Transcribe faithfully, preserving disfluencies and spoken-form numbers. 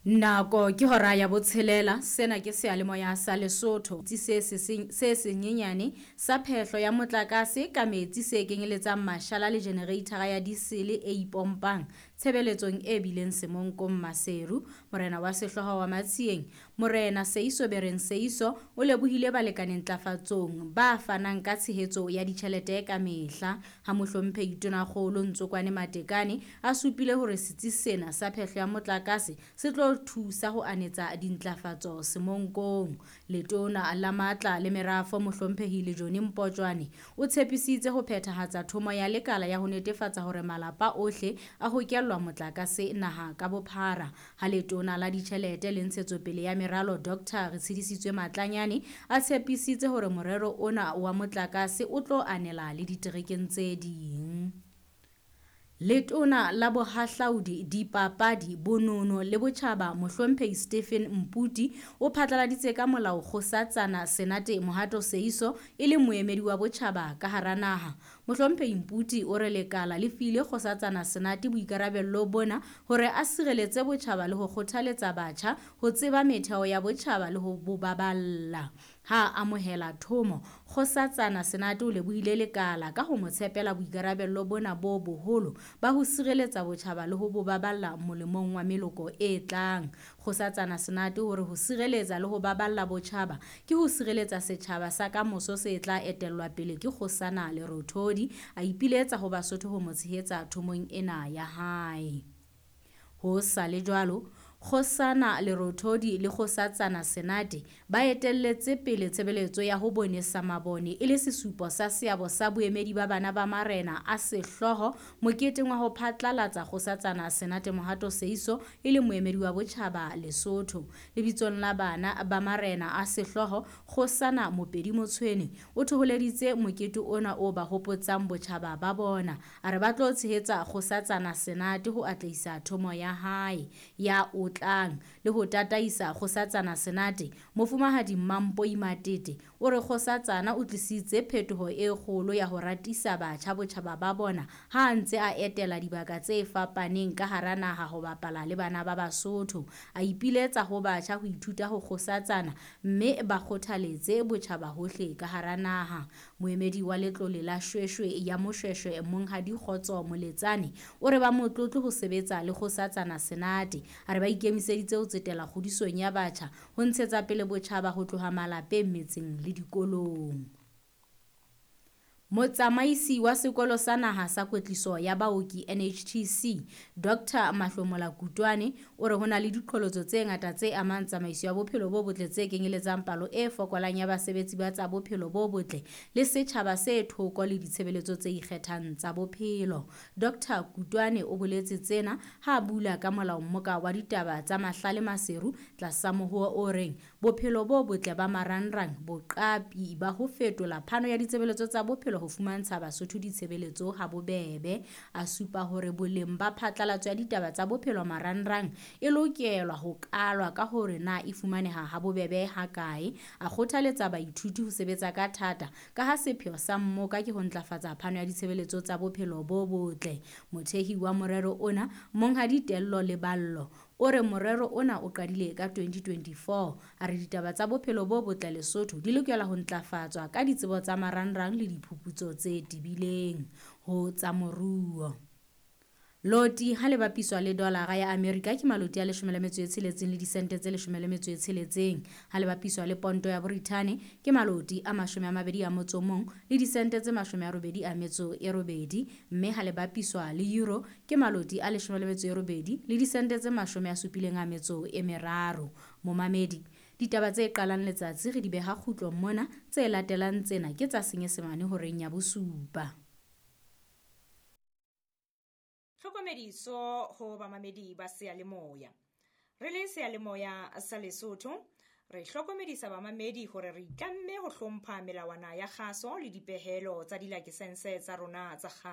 Nako ke hora ya botshelela, sena ke seyalemoya sa Lesotho se se senyenyane sa phehlo ya motlakase ka metsi se kenyeletsang mashala le jenereitara ya diesele e ipompang tshebeletsong e bileng Semonkong Maseru. Morena wa sehlooho wa Matsieng, Morena Seiso Bereng Seiso o lebohile balekane ntlafatsong ba fanang ka tshehetso ya ditjhelete ka mehla. Ha mohlomphehi Tonakgolo Ntsokwane Matekane a supile hore setsi sena sa phehlo ya motlakase se tlo thusa ho anetsa dintlafatso Semonkong. Letona la Matla le Merafo mohlomphehi Lejone Mpotjwane o tshepisitse ho phethahatsa thomo ya lekala ya ho netefatsa hore malapa ohle a hokellwa motlakase naha ka bophara. Ha letona la ditjhelete le ntshetsopele ya meralo Doctor Retshidisitswe Matlanyane a tshepisitse hore morero ona wa motlakase o tlo anela le diterekeng tse ding. Letona la Bohahlaudi, Dipapadi, Bonono le Botjhaba mohlomphehi Stephen Mputi o phatlaladitse ka molao Kgosatsana Senate Mohato Seiso e le moemedi wa botjhaba ka hara naha. Mohlomphehi Mputi o re lekala le file Kgosatsana Senate boikarabello bona hore a sireletse botjhaba le ho kgothaletsa batjha ho tseba metheo ya botjhaba le ho bo baballa. Ha a amohela thomo, Kgosatsana Senate o lebohile lekala ka ho mo tshepela boikarabello bona bo boholo ba ho sireletsa botjhaba le ho bo baballa molemong wa meloko e tlang. Kgosatsana Senate hore ho sireletsa le ho baballa botjhaba ke ho sireletsa setjhaba sa kamoso se tla etellwa pele ke Kgosana Lerothodi. A ipiletsa ho Basotho ho mo tshehetsa thomong ena ya hae. Ho sa le jwalo, Kgosana Lerothodi le Kgosatsana Senate ba etelletse pele tshebeletso ya ho bonesa mabone e le sesupo sa seabo sa boemedi ba bana ba marena a sehlooho moketeng wa ho phatlalatsa Kgosatsana Senate Mohato Seiso e le moemedi wa botjhaba Lesotho. Lebitsong la bana ba marena a sehlooho, Kgosana Mopedi Motshwene o thoholeditse mokete ona o ba hopotsang botjhaba ba bona. A re ba tlo tshehetsa Kgosatsana Senate ho atlehisa thomo ya hae ya o tlang le ho tataisa Kgosatsana Senate. Mofumahadi Mampoi Matete o re Kgosatsana o tlisitse phetoho e kgolo ya ho ratisa batjha botjhaba ba bona ha a ntse a etela dibaka tse fapaneng ka hara naha ho bapala le bana ba Basotho. A ipiletsa ho batjha ho ithuta ho Kgosatsana mme ba kgothaletse botjhaba hohle ka hara naha. Moemedi wa letlole la Shweshwe ya Moshweshwe Monghadi Kgotso Moletsane o re ba motlotlo ho sebetsa le Kgosatsana Senate. A re ba ikemiseditse ho tsetela kgodisong ya batjha ho ntshetsa pele botjhaba ho tloha malapeng, metseng le dikolong. Motsamaisi wa sekolo sa naha sa kwetliso ya baoki N H T C, Doctor Mahlomola Kutwane o re ho na le diqholotso tse ngata tse amang tsamaiso ya bophelo bo botle tse kenyeletsang palo e fokolang ya basebetsi ba tsa bophelo bo botle le setjhaba se thoko le ditshebeletso tse ikgethang tsa bophelo. Doctor Kutwane o boletse tsena ha a bula ka molao mmoka wa ditaba tsa Mahlale Maseru tlasa mohoo o reng bophelo bo botle ba marangrang, boqapi ba ho fetola phano ya ditshebeletso tsa bophelo ho fumantsha Basotho ditshebeletso ha bobebe. A supa hore boleng ba phatlalatso ya ditaba tsa bophelo marangrang e lokelwa ho kalwa ka hore na e fumaneha ha bobebe ha kae. A kgothaletsa baithuti ho sebetsa ka thata ka ha sepheo sa mmoka ke ho ntlafatsa phano ya ditshebeletso tsa bophelo bo botle. Mothehi wa morero ona, Monghadi Tello Leballo, o re morero ona o qadile ka twenty twenty-four. A re ditaba tsa bophelo bo botle Lesotho di lokela ho ntlafatswa ka ditsebo tsa marangrang le diphuputso tse tebileng ho tsa moruo. Loti ha le bapiswa le dolara ya Amerika ke maloti a leshome le metso e tsheletseng le disente tse leshome le metso e tsheletseng. Ha le bapiswa le ponto ya Borithane ke maloti a mashome a mabedi a motso o mong le disente tse mashome a robedi a metso e robedi, mme ha le bapiswa le euro ke maloti a leshome le metso e robedi le disente tse mashome a supileng a metso e meraro. Momamedi, ditaba tse qalang letsatsi re di beha kgutlong mona, tse latelang tsena ke tsa Senyesemane horeng ya bosupa. Tlhokomediso ho bamamedi ba seyalemoya. Re le seyalemoya sa Lesotho, re hlokomedisa bamamedi hore re itlamme ho hlompha melawana ya kgaso le dipehelo tsa dilakesense tsa rona tsa kgaso.